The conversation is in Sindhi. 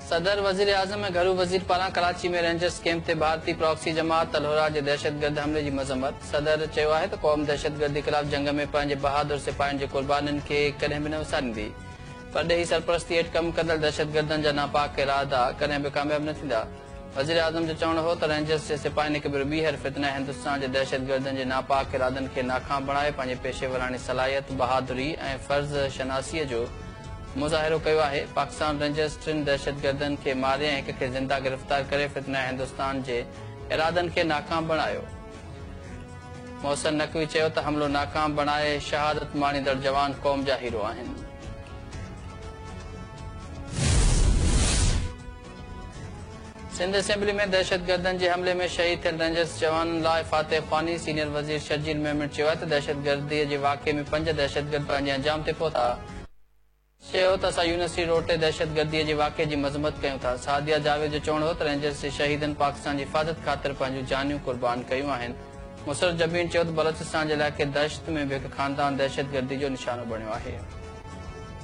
صدر، وزيراعظم ۽ گهرو وزير پاران ڪراچي ۾ رينجرز ڪيمپ تي ڀارتي پراڪسي جماعت الحرا جي دهشتگرد حملي جي مذمت. صدر چيو آهي ته قوم دهشتگردي خلاف جنگ ۾ پنهنجي بهادر سپاهين جي قربانين کي ڪڏهن به نه وساريندي. پرڏيهي سرپرستي هيٺ ڪم ڪندڙ دهشتگردن جا ناپاڪ ارادا ڪڏهن به ڪامياب نه ٿيندا. وزيراعظم جو چوڻ هو ته رينجرز جي سپاهين هڪ ڀيرو ٻيهر فتنه هندستان جي دهشتگردن جي ناپاڪ ارادن کي ناڪام بڻائي پنهنجي پيشيوراڻي صلاحيت، بهادري ۽ فرض شناسيء جو مظاهرو ڪيو آهي، پاڪستان رينجرز ٽن دهشتگردن کي ماري ۽ هڪ کي زنده گرفتار ڪري فتنه هندستان جي ارادن کي ناڪام بڻايو. محسن نقوي چيو ته حملو ناڪام بڻائي شهادت ماڻيندڙ جوان قوم جا هيرو آهن. سنڌ اسيمبلي ۾ دهشتگردن جي حملي ۾ شهيد ٿيل رينجرز جوانن لاء فاتحه خواني، سينيئر وزير شرجيل ميمڻ چيو آهي ته دهشتگردي جي واقعي ۾ پنج دهشتگرد پنهنجي انجام تي پهتا. چيو ته اسان يونيورسٽي روڊ تي دهشتگردي جي واقعي جي مذمت ڪيون ٿا. سعديه جاويد جو چوڻ هو ته رينجرز جي شهيدن پاڪستان جي حفاظت خاطر پنهنجون جانيون قربان ڪيون آهن. مسرت جبين چيو ته بلوچستان جي علائقي دشت ۾ به هڪ خاندان دهشتگردي جو نشانو بڻيو آهي.